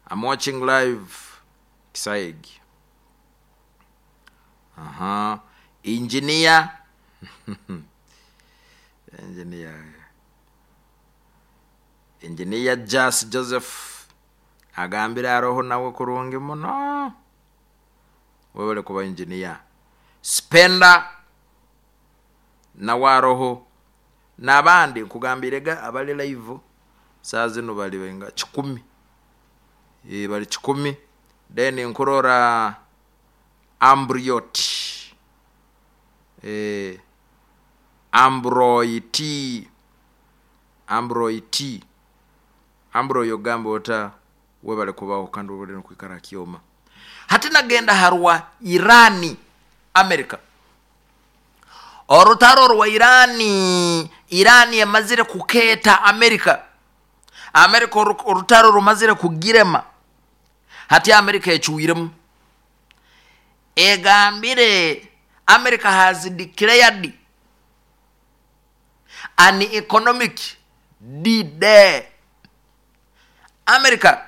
I'm watching live Kisaigi. Aha. Engineer. Engineer. Engineer Jas Joseph agambire aroho nawe kurungi muno. Webale kuba engineer. Spender nawe aroho n'abandi nkugambire ga abali live saa zinu bali nga 100. Bali 100. Then nkurora Ambriot. Ambroiti. Ambroiti. Ambroyo ogamba ota webale kubaho kandi webale nokwikara kyoma. Hati nagenda harwa Irani, America. Orutaro rwa Irani, Irani emazire kukeeta America. America orutaro rumazire kugirema. Hati America ecuiremu. Egambire America has declared an economic D-Day. America,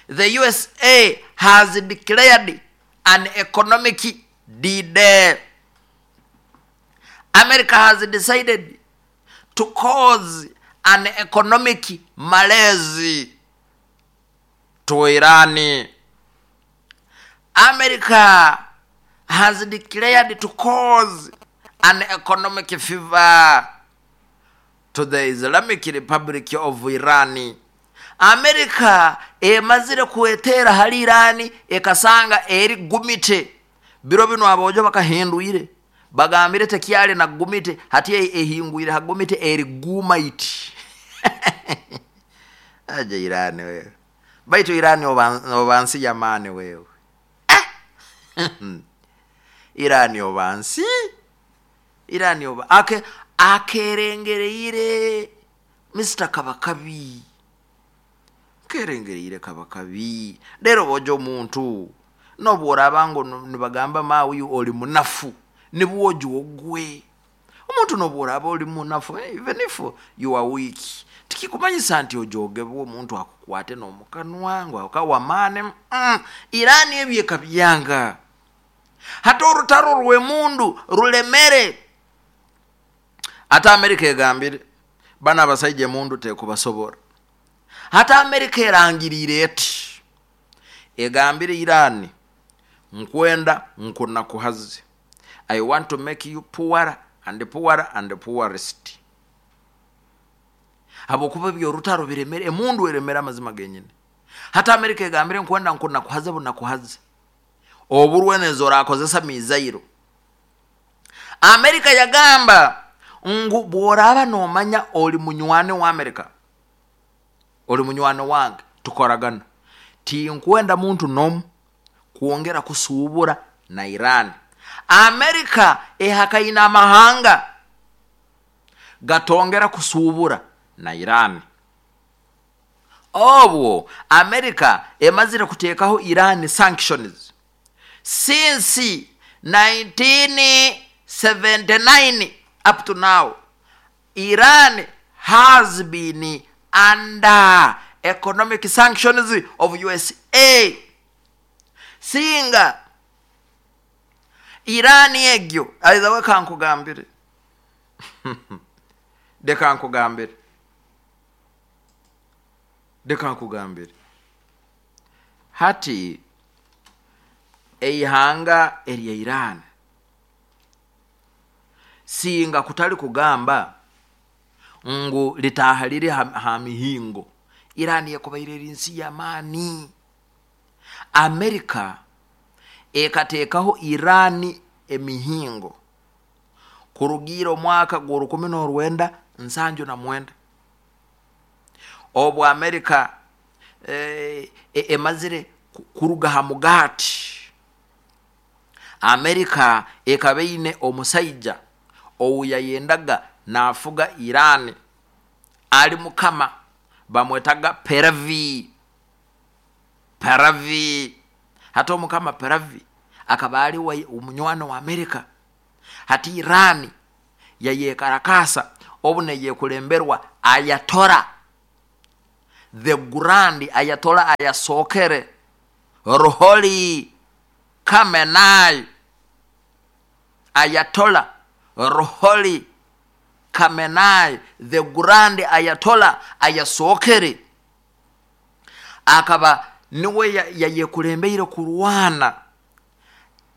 the USA has declared an economic D-Day. America has decided to cause an economic malaise to Iran. America has declared to cause an economic fever to the Islamic Republic of Iran. America emazire kwetera hali Iran ekasanga eri gumite. Biro bino abojo bakahindwire. Bagambire tekyali na gumite, hati ehingwire hagumite eri gumaiti. Aje Iran wewe. Baitu Iran obansi yamani wewe. Iran obansi. Iran oba ake akerengereire Mr. Kabakabi. Kerengereire Kabakabi. Lero bojo omuntu nobworaba ngo nibagamba mawe oli munafu nibwojo ogwe. Omuntu nobworaba oli munafu, even if you are weak, tikikumanyisa nti ojogebwa omuntu akukwate n'omukanwa ngu akawamane. Iran ebyeka byanga. Hata orutaro rw'emundu rulemere. Ate America egambire bana abasajja emundu tekubasobora. Hata America erangirire eti egambire Iran nkwenda nkunakuhaze. I want to make you poorer and poorer and poorest. Habwokuba ebyorutaro biremere, emundu eremere amazima genyine. Hata America egambire nkwenda nkunakuhaze bunakuhaze. Oburwenezo orakozesa mizairo. America yagamba ngu bworaba nomanya oli munywani wa America, oli munywani wange, tukoragana. Tinkwenda muntu nomu kwongera kusubura na Iran. America ehakaina amahanga gatongera kusubura na Iran. Obwo America emazire kuteekaho Iran sanctions since 1979 up to now. Iran has been under economic sanctions of USA. Singa Iran egyo aizawe kankugambire. Dekankugambire. Dekankugambire. Hati eihanga erya Iran singa kutali kugamba ngu litaha liri ha mihingo. Iran yakubaire eri nsi y'amaani. America ekateekaho Iran emihingo kurugira omwaka gwa 1979. Obwo America emazire kuruga ha mugati. America ekaba eine omusaija owu yayendaga nafuga Iran ali mukama, bamwetaga Peravi. Peravi. Hata omukama Peravi akaba ali omunywani wa America. Hati Iran yayekarakasa obu neyekulemberwa Ayatollah. the Grand Ayatollah ayasookere Ruholi Khamenei Ayatollah Ruholi Khamenei the Grand Ayatollah ayasookere akaba niwe yayekulembeire kurwana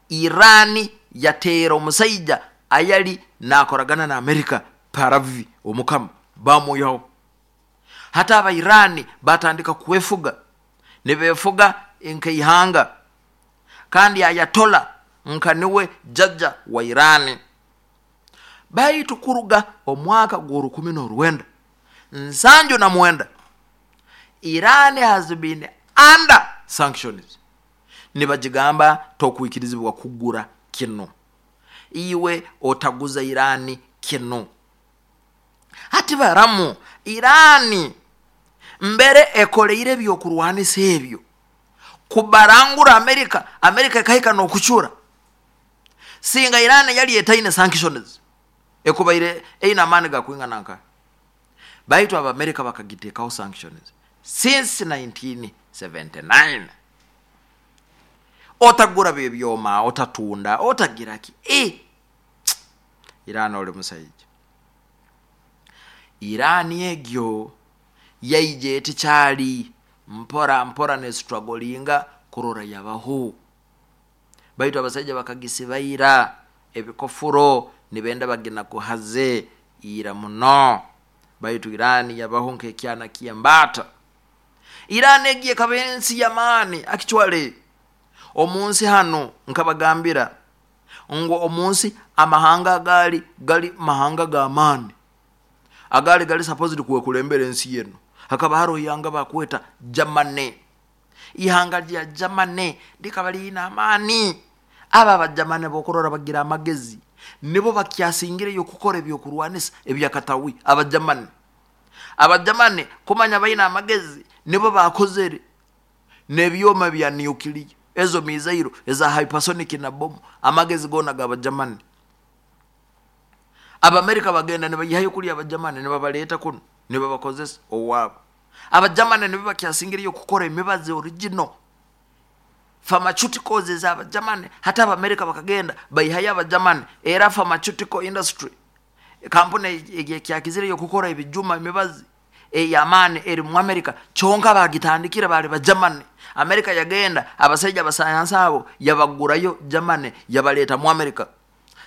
Iran yateera omusaija ayali nakoragana na Amerika Pahlavi omukama bamwihaho. Hati aba Iran batandika kwefuga, nibefuga nkeihanga, kandi Ayatollah nka niwe jaja wa Iran. Baitu kuruga omwaka gw'orukumi n'orwenda nsanju na mwenda Iran has been under sanctions. Nibagigamba tokwikirizibwa kugura kinu, iwe otaguza Iran kinu. Hati baramu Iran mbere ekoleire ebyokurwanisa ebyo kubarangura Amerika, Amerika ekahika n'okucura. Singa Iran yali etaine sanctions ekubaire eine amaani gakwingana nkahe? Baitu Abamerika bakagiteekaho sanctions since 1979. Otagura byebyoma, otatunda, otagira ki. E Iran oli musaija. Iran egyo yaija eti kyali mpora mpora nestrugglinga kurora yabaho. Baitu abasaija bakagisiba ira ebikofuro nibenda baginakuhaze ira muno. Baitu Iran yabaho nk'ekyana ky'embaata. Iran egi ekaba ensi y'amaani actually. Omu nsi hanu nkabagambira ngu omu nsi amahanga agaali gali mahanga g'amaani agaali gali supposed kwekulembera ensi enu, hakaba haroho ihanga bakweta Germany. Ihanga lya Germany likaba liine amaani. Abo Abajamani bokurora bagira amagezi, nibo bakyasingireyo kukora ebyokurwanisa ebyakatawi, Abajamani. Abajamani kumanya baine amagezi, nibo bakozere n'ebyoma bya nuclear, ezo mizairo eza hypersonic na bomu, amagezi goona g'Abajamani. Abamerika bagenda nibayihayo kuli Abajamani nibabaleeta kunu nibabakozesa owaabo. Abajamani nibo bakyasingireyo kukora emibazi original pharmaceuticals ez'Abajamani. Hati Abamerika bakagenda baihayo Abajamani, era pharmaceutical industry kampuni ekyakizireyo kukora ebijuma emibazi ey'amaani eri mu Amerika, kyonka bagitandikire bali Bajamani. Amerika yagenda abasaija abasayansi abo yabagurayo Germany yabaleeta mu Amerika.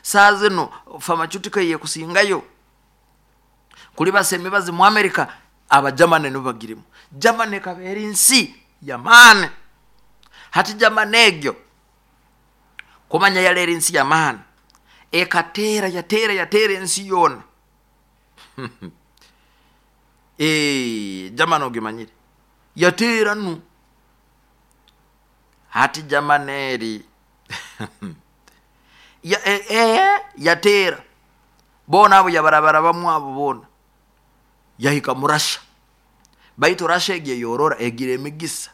Saa zinu pharmaceutical eyekusingayo kulibasa emibazi mu Amerika Abajamani nibo bagirimu. Germany ekaba eri nsi y'amaani. Hati Germany egyo kumanya yali eri nsi y'amaani, ekateera yateera yateera ensi yoona. Germany ogimanyire, yateera nu. Hati Germany eri yateera boona abo yabarabarabamu abo boona yahika mu Russia. Baitu Russia egi eyorora egira emigisa.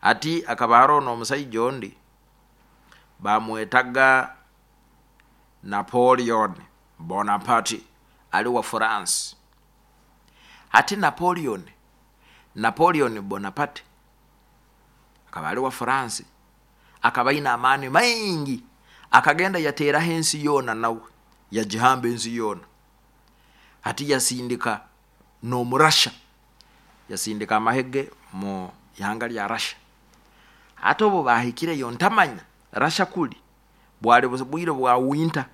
Hati akaba haroho n'omusaija ondi bamwetaga Napoleon Bonaparte ali wa France. Hati Napoleon Bonaparte akaba ali wa France, akaba aine amaani maingi, akagenda yateeraho ensi yoona nawe, yagihamba ensi yoona. Hati yasindika n'omu Russia, yasindika amahe ge mu ihanga lya Russia. Hati obu bahikireyo ntamanya Russia kuli bwali bwire bwa winter.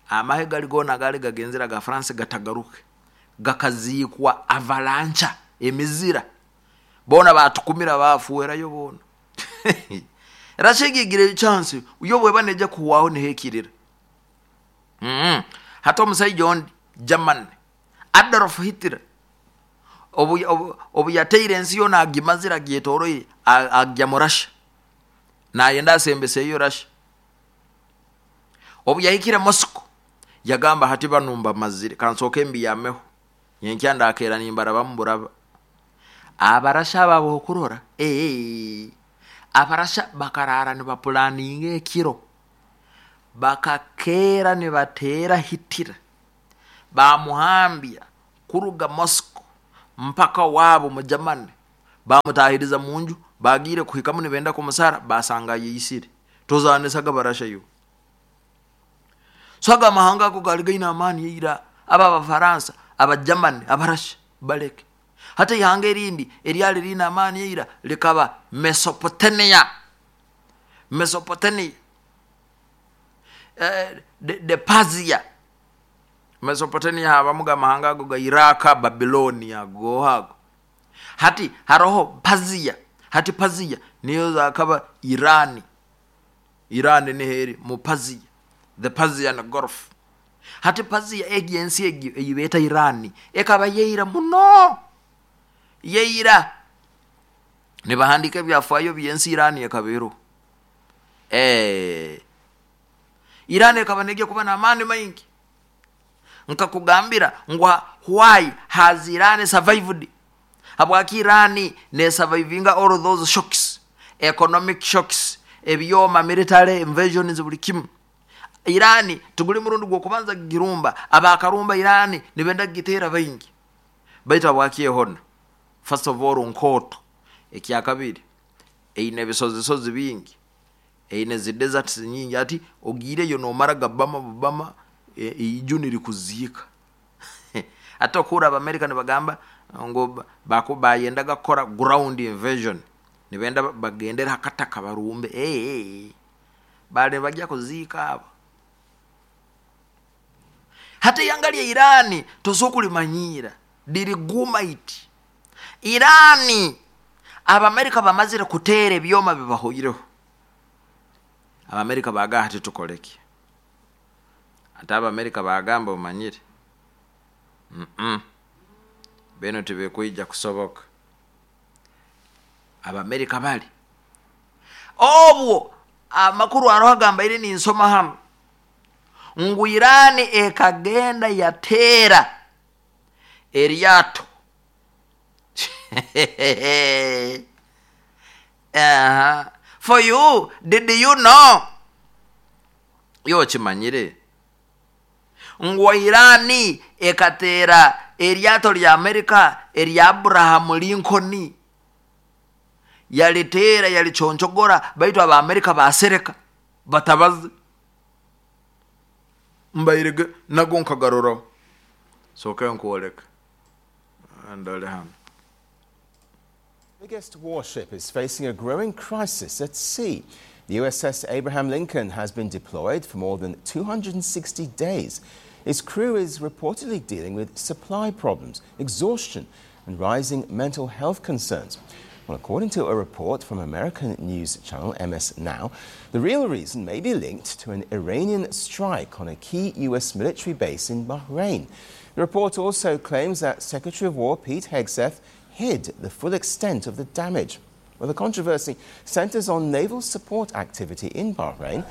Amahe gali goona agaali gagenzere aga France gatagaruke, gakaziikwa avalanche emizira, boona batukumira bafuerayo boona. Russia egi egira chance yo bweba neija kuhwaho nehekirira. Hati omusaija ondi Germany, Adolf Hitler, obu yateire ensi yoona agimazire agyetoroire, agya mu Russia, nayenda asembeseyo Russia. Obu yahikire Moscow, yagamba hati banu mbamazire, kansooke mbiyameho, nyenkya ndakeera nimbarabamu buraba. Abarasha abo abokurora, Abarasha bakaraara nibapulaninga ekiro, bakakeera nibateera Hitler, bamuhambya kuruga Moscow. mpaka owaabo mu Germany. Baamutaahiriza mu nju, baagiire kuhikamu nibenda kumusara, baasanga ayeitsire. Tozaanisaga Barasha iwe. So ago amahanga ago gaali gaine amaani ira, abo Abafaransa, Abagermany, Abarasha, baleke. Hati eihanga erindi eryali riine amaani ira rikaba Mesopotamia. Mesopotamia. Eh, the, the Persia. Mesopotamia habamuga amahanga ago ga Iraq, Babylonia, ago ago. Hati haroho Persia. Hati Persia niyo zakaba Iran. Iran niho eri mu Persia. The Persian Gulf. Hati Persia egyo ensi egyo ei beeta Iran ekaba yeira muno. Yeira. Nibahandiika ebyafaayo by'ensi Iran ekaba eriho. Eh. Iran ekaba negya kuba n'amaani maingi. Nkakugambira ngu why has Iran survived? Habwaki Iran nesurvivinga all those shocks, economic shocks, ebyoma, military invasions buri kimu. Iran tiguri murundi gw'okubanza kugirumba, abaakarumba Iran nibenda kugiteera baingi. Baitu habwaki ehona? First of all nkooto, ekyakabiri eine ebisozisozi bingi, eine zi deserts nyingi hati ogiireyo nomara gabama bubama eiju nirikuziika. Hati okuhurra Abamerika nibagamba ngu bayendaga kukora ground invasion, nibenda bagendere ha kataka barumbe, eeh baali nibagya kuziika abo. Hati eihanga rya Iran tosobola kurimanyiira, riri gumaiti. Iran Abamerika bamazire kuteera ebyoma bibahoireho. Abamerika baagamba hati tukore ki? Hati Abamerika baagamba omanyire, mm binu tibikwija kusoboka. Abamerika bari obwo amakuru aroho agambaire ninsoma hanu ngu Iran ekagenda yateera eryato Aha. For you, did you know? Iwe okimanyire ngu Iran ekateera eryato rya America erya Abraham Lincoln yariteera yariconchogora baitu aba America basereka batabaze. Mbaire nago nkagaroraho. Sooka nkwoleke. Ndore hanu. Biggest warship is facing a growing crisis at sea. The USS Abraham Lincoln has been deployed for more than 260 days. Its crew is reportedly dealing with supply problems, exhaustion, and rising mental health concerns. Well, according to a report from American news channel MS Now, the real reason may be linked to an Iranian strike on a key U.S. military base in Bahrain. The report also claims that Secretary of War Pete Hegseth hid the full extent of the damage. Well, the controversy centers on naval support activity in Bahrain.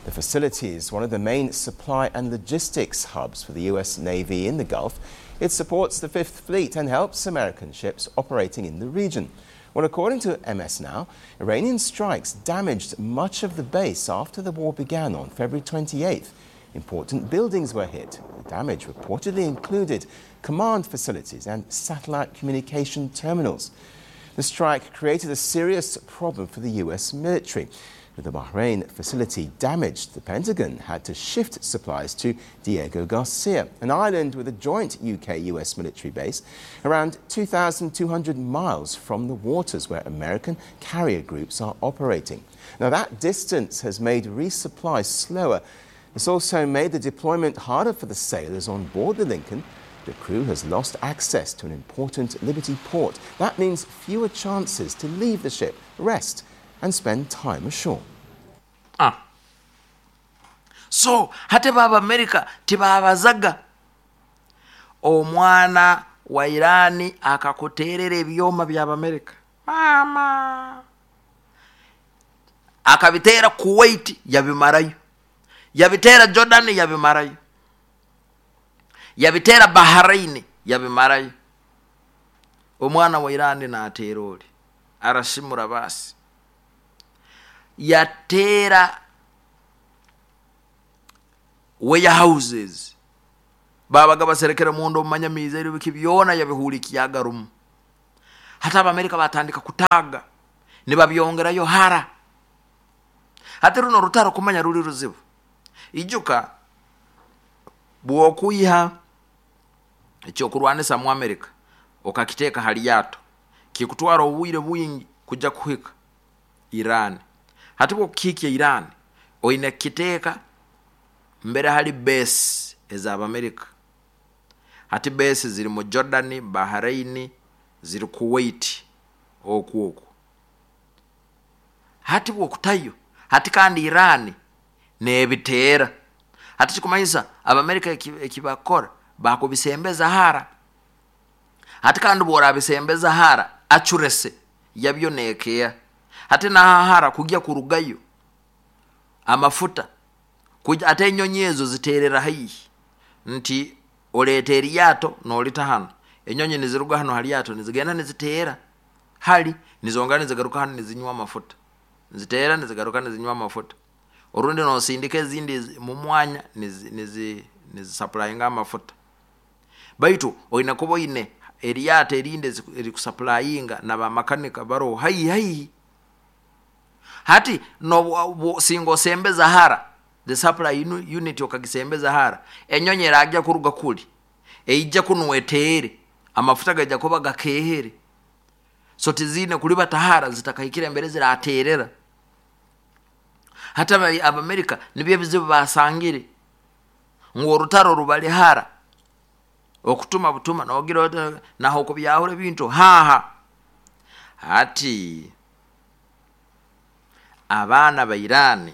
The facility is one of the main supply and logistics hubs for the U.S. Navy in the Gulf. It supports the Fifth Fleet and helps American ships operating in the region. Well, according to MS Now, Iranian strikes damaged much of the base after the war began on February 28th. Important buildings were hit. The damage reportedly included command facilities and satellite communication terminals. The strike created a serious problem for the US military. With the Bahrain facility damaged, the Pentagon had to shift supplies to Diego Garcia, an island with a joint UK US military base around 2,200 miles from the waters where American carrier groups are operating. Now, that distance has made resupply slower. It's also made the deployment harder for the sailors on board the Lincoln. The crew has lost access to an important Liberty port. That means fewer chances to leave the ship, rest, and spend time ashore. Ah. So hati ba Abamerika tibabazaga omwana wa Irani akakuteerera ebyoma by'Abamerika maama akabiteera Kuwait yabimarayo, yabiteera Jordan yabimarayo, yabiteera Bahrain yabimarayo. Omwana wa Irani naateera ori arasimura baasi yateera warehouses babaga baserekere munda omu manyamiizi ebyo biki byona yabihuurikiaga rumu. Hati Abamerika batandika kutaaga nibabyongerayo hara. Hati runo orutaro kumanya ruri ruzibu. Ijuka bw'okwiha ekyokurwanisa mu Amerika okakiteeka ha ryato, kikutwara obwire bwingi kujya kuhika Iran. Hati bw'okukihikya Iran, oine kukiteeka mbere hali base ez'Abamerika. Hati base ziri mu Jordan, Bahrain, ziri Kuwait okwo okwo. Hati bw'okutayo, hati kandi Iran neebiteera. Hati kikumanyisa Abamerika eki eki bakukora, bakubisembeza hara. Hati kandi bw'orabisembeza hara, accuracy yabyo neekeeha. Hati n'aha hara kugya kurugayo amafuta, kugy ate enyonyi ezo ziteerera haihi nti oreeta eryato noorita hanu, enyonyi niziruga hanu ha ryato nizigenda niziteera hari, nizongera nizigaruka hanu nizinywa amafuta, niziteera nizigaruka nizinywa amafuta. Orundi noosindika ezindi mu mwanya nizi nizi nizisapurayinga amafuta. Baitu oine kuba oine eryato erindi erikusapurayinga na bamakanika baroho haihi haihi. Hati nobu singa osembeza hara, the supply unit okagisembeza hara, enyonyi eragya kuruga kuri, eije kunu eteere, amafuta gaija kuba gakeehere. So tiziine kuribata hara zitakahikire mbere zirateerera. Hati Abamerika nibyo ebizibu baasangire, ngu orutaro rubari hara, okutuma butuma noogira oti naho okubyahura ebintu haaha. Hati abaana ba Iran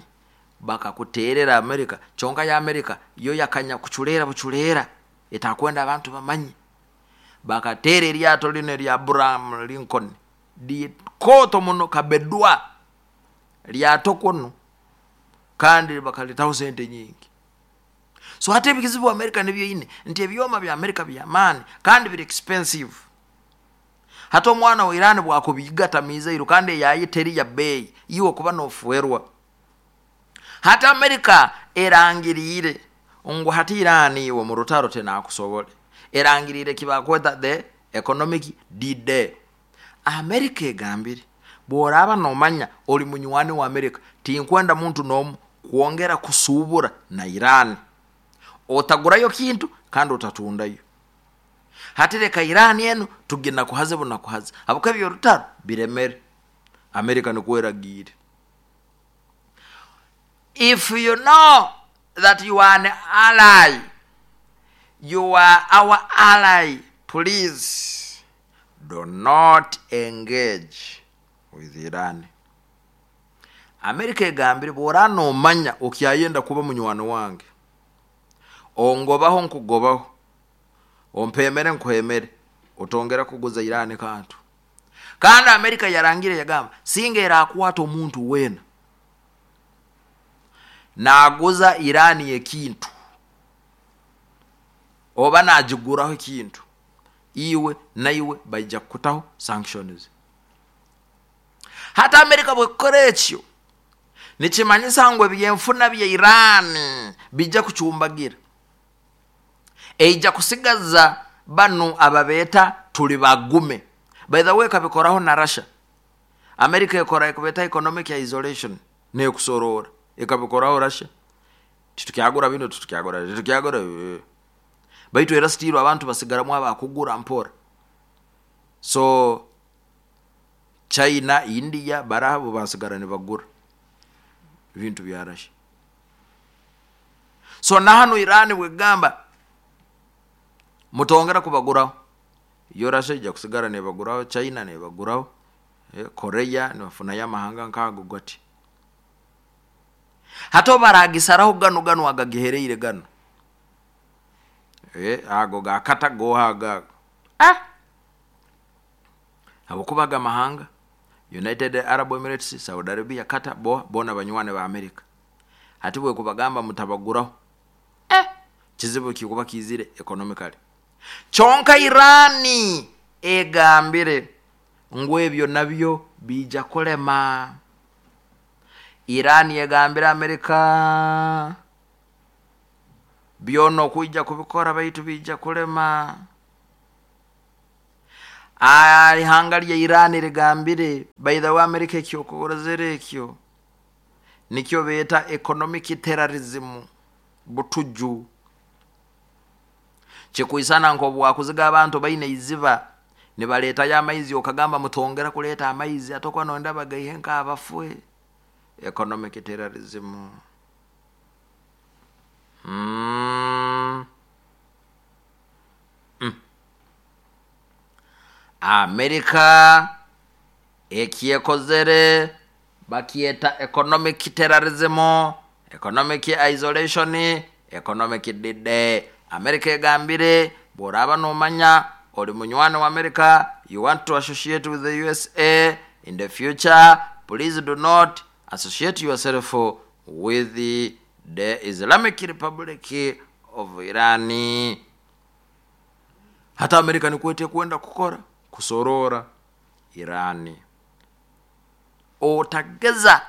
bakakuteerera Amerika, kyonka yo Amerika yo yakanya kucureera bucureera etakwenda abantu bamanye. Bakateera eryato rinu erya Abraham Lincoln rikooto muno kabedwa ryato kunu kandi bakaritaho sente nyingi. So hati ebizibu America nibyo eine nti ebyoma bya America by'amaani kandi biri expensive. Hati omwana wa Iran bwakubigata mizairo kandi eyaye teri ya beeyi, iwe okuba nofuerwa. Hati America erangiriire ngu hati Iran iwe mu rutaro tenakusobole. Erangiriire eki bakweta the economic D-Day. America egambire, Bworaaba nomanya ori munywani wa America, tinkwenda muntu n'omu kwongera kusuubura na Iran. Otagurayo kintu kandi otatundayo. Hati leka Iran enu tuginakuhaze bunakuhaze habwokuba eby'orutaro biremere. America nikwo eragiire. If you know that you are an ally, you are our ally, please do not engage with Iran. America egambire bw'oraaba noomanya okyayenda kuba munywani wange, ongobaho nkugobaho, ompeemere nkuheemere, otongera kuguza Iran kantu. Kandi America yarangire yagamba singa erakwata omuntu weena naaguza Iran ekintu oba naagiguraho ekintu, iwe naiwe baija kukutaho sanctions. Hati America bwekukora ekyo, nikimanyisa ngu ebyenfuna bya Iran bija kucumbagira. Eija kusigaza banu ababeeta turi bagume. By the way ekabikoraho na Russia. America ekora ekubeeta economic isolation nekusoroora. Ekabikoraho Russia. Titukyagura binu, titukyagura, titukyagura. Baitu era still abantu basigaramu abakugura mpora. So China, India baraha bo basigara nibagura ebintu bya Russia. So na hanu Iran bwekugamba mutongera kubaguraho, yo Russia eija kusigara nebaguraho, China nebaguraho, Korea nibafunayo amahanga nk'ago gati. Hati obu baragisaraho ganu ganu agagihereire ganu, ago ga Qatar goha ago ago, ah! Habwokuba ago amahanga, United Arab Emirates, Saudi Arabia, Qatar, boha, boona banywani ba America. Hati bwekubagamba mutabaguraho, eh! Kizibu kikuba kiizire economically. Kyonka Iran egambire ngu ebyo nabyo biija kulema. Iran egambire America byona okwija kubikora baitu biija kulema. Eihanga rya Iran rigambire, by the way America eki okozire ekyo nikyo beeta economic terrorism, butuju. Kikwisana nk'obu wakuziga abantu baine eiziba nibareetayo amaizi okagamba mutongera kureeta amaizi ate okuba noyenda bagaihe nk'abafwe. Economic terrorism. Mm. Mm. Amerika ekyekozere bakyeta economic terrorism, economic isolation, economic D-Day. Amerika egambire bw'oraaba noomanya ori munywani wa Amerika, you want to associate with the USA in the future, please do not associate yourself with the Islamic Republic of Iran. Hati Amerika nikwo etekwenda kukora, kusoroora Iran. Otageza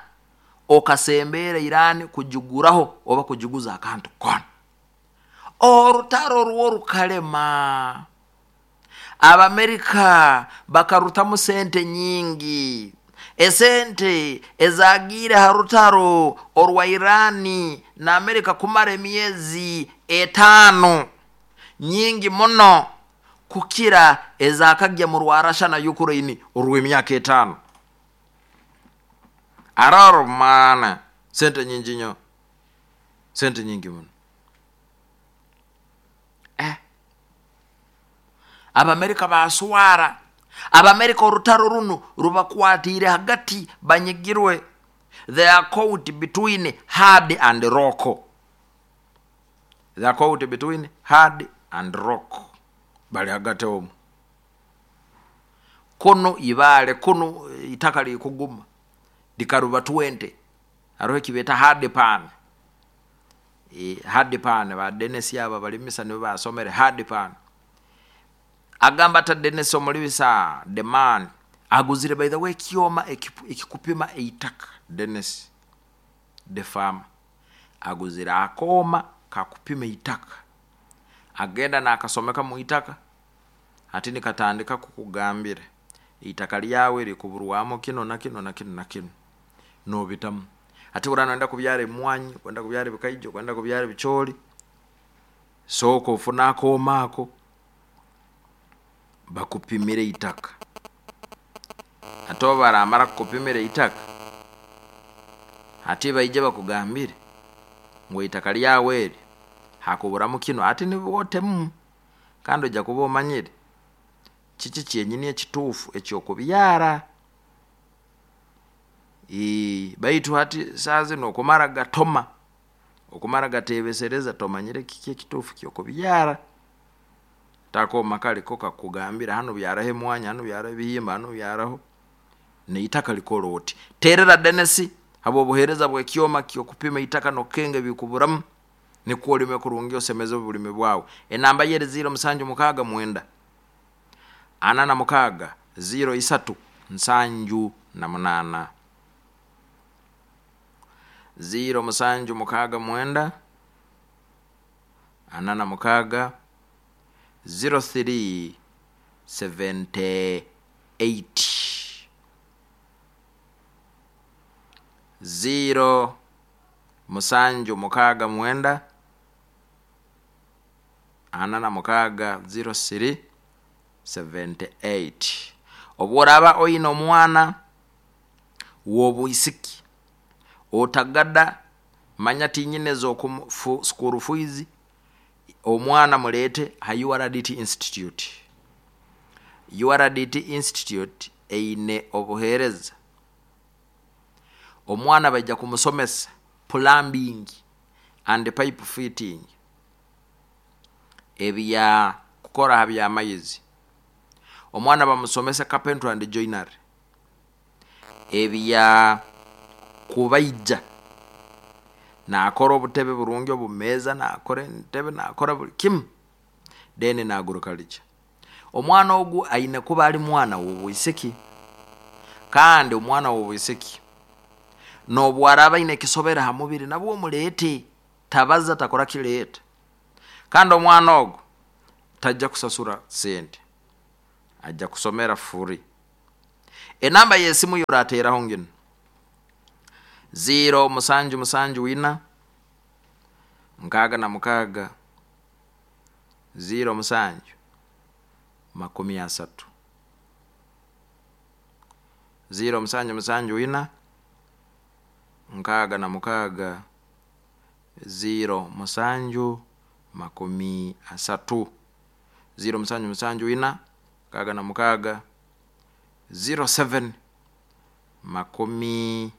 okasembeera Iran kugiguraho oba kugiguza akantu koona. Orutaro rwo rukarema. Abamerika bakarutamu sente nyingi. Esente ezaagiire aha rutaro orwa Iran na Amerika kumara emyezi etaano nyingi muno kukira ezakagya mu rwa Russia na Ukraine orw'emyaka etaano. Aroro maana sente nyingi nyo, sente nyingi muno. Eh. Abamerika baaswara. Abamerika orutaro runu rubakwatiire hagati banyigirwe. They are caught between hard and rock. They are caught between hard and rock. Bari hagati omwo. Kunu ibaare, kunu itaka rikuguma rikaruba 20. Hariho eki beeta hard pan. Hard pan, ba Dennis abo abarimisa nibo baasomere hard pan. Agamba ata Dennis omuribisa the man aguzire by the way ekyoma ekikupima eitaka Dennis the farmer. Aguzire akooma kakupima eitaka. Agenda nakasomeka mu itaka hati nikatandika kukugambira eitaka ryawe rikuburwamu kinu na kinu na kinu na kinu. Nobitamu. Hati oraba noyenda kubyara emwanyi, orikwenda kubyara ebikaijo, orikwenda kubyara ebicoori, sooka ofune akooma ako bakupimire eitaka. Hati obu baramara kukupimira eitaka, hati baije bakugambire ngu eitaka ryawe eri hakuburamu kinu, hati nibwo otemu kandi oija kuba omanyire kiki kyenyini ekituufu eky'okubyara. Baitu hati saaha zinu okumara gatoma, okumara gateebesereza tomanyire kiki ekituufu ky'okubyara. Takooma kare ko kakugambira hanu byaraho emwanya, hanu byaraho ebihimba, hanu byaraho n'eitaka rikora oti. Teerera Dennis habw'obuheereza bw'ekyoma ky'okupima eitaka n'okukenga ebikuburamu nikwo orime kurungi osemeze oburimi bwawe. Enamba ye eri ziiro musanju mukaaga mwenda ana na mukaaga ziiro isatu 78. Ziiro musanju mukaaga mwenda. 46 03 78 0 musanju mukaaga mwenda 46 03 78. Obu oraaba oine omwana w'obwisiki otagada Manya tinyine ez'oku school fees, omwana mureete aha URDT Institute. URDT Institute eine obuheereza, omwana baija kumusomesa plumbing and pipe fitting, ebya kukora aha by'amaizi, omwana bamusomese carpentry and joinery. Ebya kubaija nakora obutebe burungi obumeeza nakora entebe nakora buri kimu then naguruka rikya. Omwana ogu aine kuba ari mwana w'obwisiki kandi omwana w'obwisiki n'obu araabe aine ekisobere aha mubiri nabwo omureete tabaza takora ki reeta kandi omwana ogu taija kusasura sente. Aija kusomera free. Enamba y'esimu y'orateeraho nginu, ziiro musanju musanju ina, 66, ziiro musanju, 30. Ziiro musanju musanju ina, 66, ziiro musanju, 30. Ziiro musanju musanju ina, 66, 07, 30.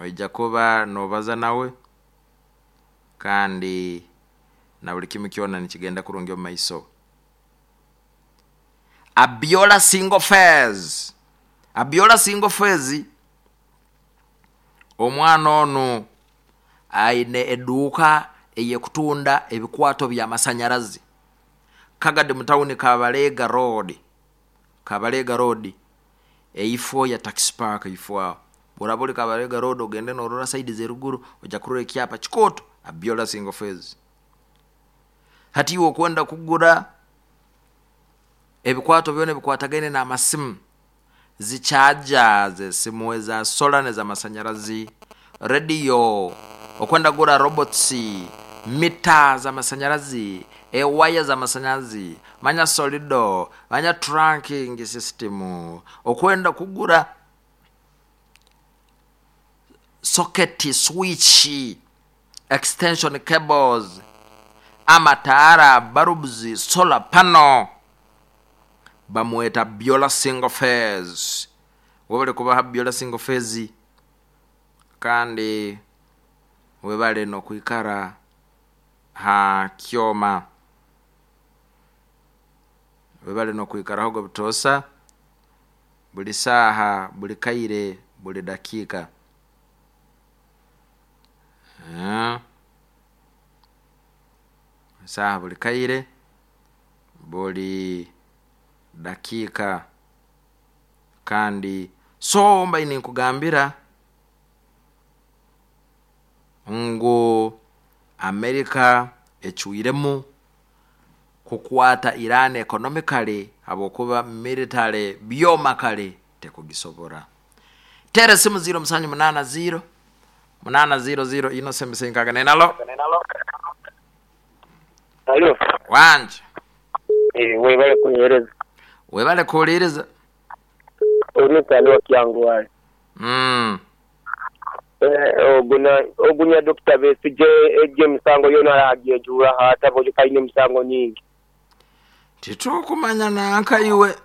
Oija kuba noobaza nawe kandi na buli kimu kyona nikigenda kurungi omu maiso. Abiola Single Phase. Abiola Single Phase omwana onu aine eduuka ey'ekutunda ebikwato by'amasanyarazi Kagadi mu tawuni Kabalega Road, Kabalega Road eifo ya Taxi Park eifo aho. Bw'oraba ori Kabalega Road ogende noorora sayidi z'eruguru oija kurora ekyapa kikooto Abiola Single Phase. Hati iwe okwenda kugura ebikwato byona ebikwatagaine n'amasimu, zi charger z'esimu eza solar n'ezamasanyarazi, rediyo, okwenda kugura robots, mita z'amasanyarazi, ewaya z'amasanyarazi, manya solido, manya trunking system, okwenda kugura socket, switch, extension cables, amataara, bulbs, solar panel. Bamweta Biola Single Phase. Webale kuba ha Biola Single Phase kandi webale n'okwikara ha kyoma. Webale n'okwikaraho butoosa, buli saaha, buli kaire, buli dakiika. Saaha buli kaire, buli dakiika. Kandi so mbaire ninkugambira ngu America ecwiremu kukwata Iran economically habwokuba military byoma kare tekugisobora. Teera esimu 0780 800 Innocent Nsenkaganene. Alo? Alo. Wangi. Eh, webale kuhereza. Webale kuwuliriza. Oyo ni Sani wa Kyangwali. Eh, ogunya Dokita Besigye egyo emisango yona agyejuura ata bwekyo alina emisango nyingi. Titukumanya nanka iwe.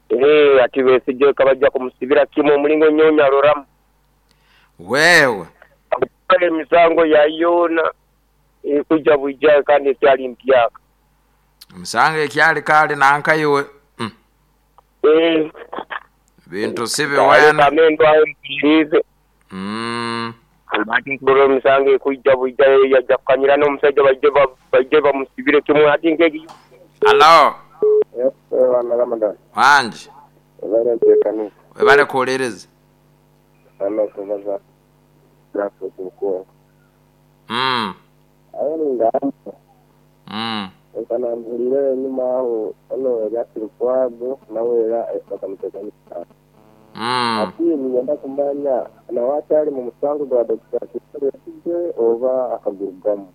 Eh, ati Besigye kabajja kumusibira kimu omulingo nyonya aloramu. Wewe. Emisango yayona ekuja bwija kandi ekyali mpyaka. Emisango ekyali kale nanka iwe. Eh. Bintu si biwena. Kamendo ayo mpulirize. Ati nkurora emisango ekuija bwija yajja kukanyira n'omusajja baije bamusibire kimu ati nkegi. Alo. Yes, Bwana Ramadan. Wangi. Webale nteekaniza. Webale kuwuliriza. Hano tubaza Graphic Bukungu. Aye ngamba. Reka nambulire enyuma aho ono Erias Lukwago nawe era bakamuteekanisaamu. Ati niinyenda kumanya nawe akyali mu musango gwa Dokita Kizza Besigye oba akagurugamu?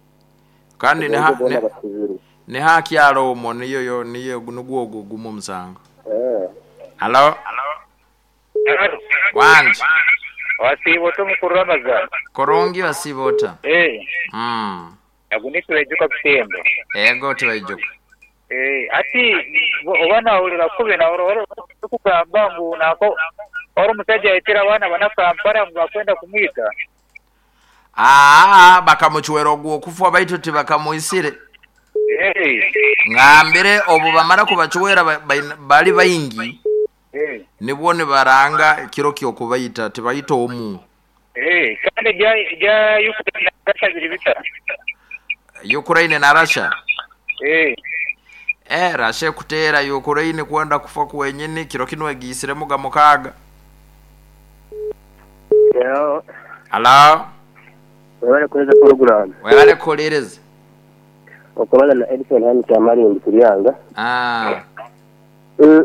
Kandi Oba boona basibirwe. ni hakyalo omwo niyo niyo nigwo ogwo gumu omusango. Eh. Alo? Wangi. Wasiiba ota omukuru Ramazani? Kurungi wasiiba ota? Eh. Agu ni Tibaijuka Butembo. Ego Tibaijuka. Eh, ati oba nahurira kubi nahurira orikugamba ngu nako ori omushaija yaitire abaana bana Kampala ngu bakwenda kumwita. Aa, bakamucwera ogw'okufa baitu tibakamuisire. Eh. Ngambire obu bamara kubacwera bali baingi. Eh. Nibwo nibaranga ekiro ky'okubaita tibaita omu. Eh, kandi ebya Ukraine na Russia biri bita? Ukraine na Russia? Eh. Eh, Russia ekuteera Ukraine kwenda kufa kwenyini kiro kinu egiisiremu ga mukaaga. Hello. Alo. Webale kuhereza program. Webale kuwuliriza. Okubaza na Edson hanu Kyamarindi Kiryanga. Ah.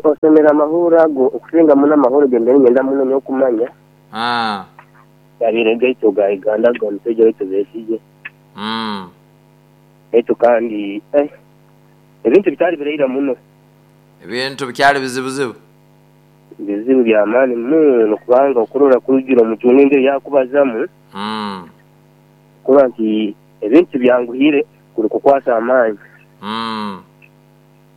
Osomere amahuuro ago okusinga muno amahuuro ge mbaire niinyenda muno nyowe kumanya. Ah. Gabaire gaitu aga Uganda ag'omushaija waitu Besigye. Baitu kandi eh ebintu bitari biraira muno. Ebintu bikyali bizibuzibu. Bizibu bya maani muno kubanga okurora kurugira omucungu engeri yakubazamu. Kuba nti ebintu tibyanguhire kuri kukwasa amaani.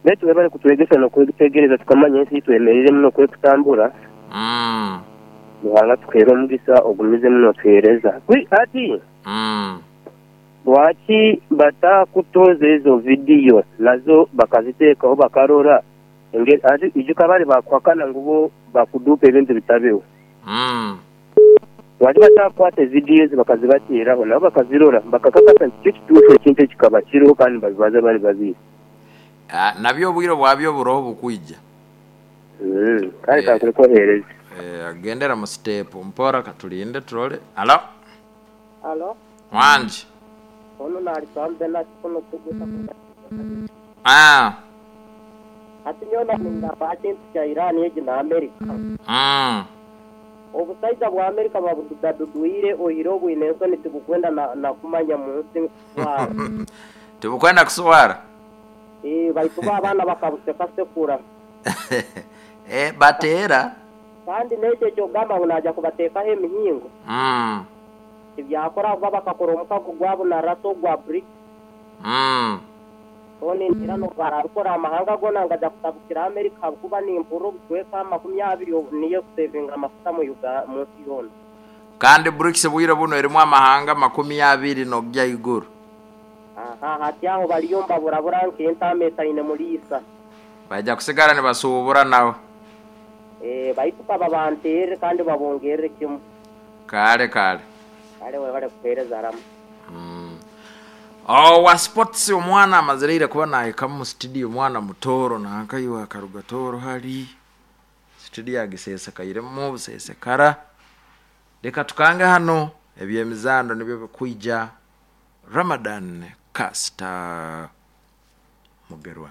Baitu webale kutwegesa n'okwetegereza tukamanya ensi ei twemereiremu n'oku erikutambura. Ruhanga atukuhere omugisa ogumizemu n'otuhereza. Hati lwaki batakutoza ezo vidiyo nazo bakazitekaho bakarora engeri hati ijuka bari bakuhakana ngu bo bakuduupa ebintu bitabeho. Lwaki batakukwata evidiyo ezo bakazibateeraho nabo bakazirora bakakakasa nti kyo kituufu ekintu eki kikaba kiriho kandi nibabibaza bari babiri. Nabyo obwire bwabyo buroho bukwija. Kale kankureke oheereze. Gendera mu siteepu mpora katulinde turole. Halo? Halo? Wangi. Onu naali Benard kunu kuguta kuruga Kigoma district. Ah. Hati nyowe naaba ningamba aha kintu kya Iran egi na America. Obusaija bwa America babududadudwire oihireho obwine ensoni tibukwenda na kumanya mu nsi kuswara. Tibukwenda kuswara? Eeh baitu bo abaana bakabusekasekura. Eeh bateera. Kandi n'ekyo eky'okugamba ngu naaja kubateekaho emihingo, tibyakora ahabw'okuba bakakora omukago gwabo na Russia ogwa BRICS. So nintiina n'obu baraabikora amahanga goona ngaja kutabukira America ahabw'okuba nimpurira obucweka 20 obu niyo ekusevinga amafuta mu Uga mu nsi yoona. Kandi BRICS obwire bunu erimu amahanga 20 n'okugya ahaiguru. Aha, hati aho bariyo nibaburabura nk'entaama etaine muriisa. Baija kusigara nibasuubura nawe. Ee, baitu ka babanteerere kandi babongerere kimwe. Kale, kale. Kale webale kuheereza Rama. Owa sports omwana amazire ira kuba nahikamu mu studio omwana mutooro nanka iwe akaruga Tooro hari studio agisesekairemu busesekara reka tukange hanu ebyemizaano nibyo bikwija Ramadan Kasita Mugerwa.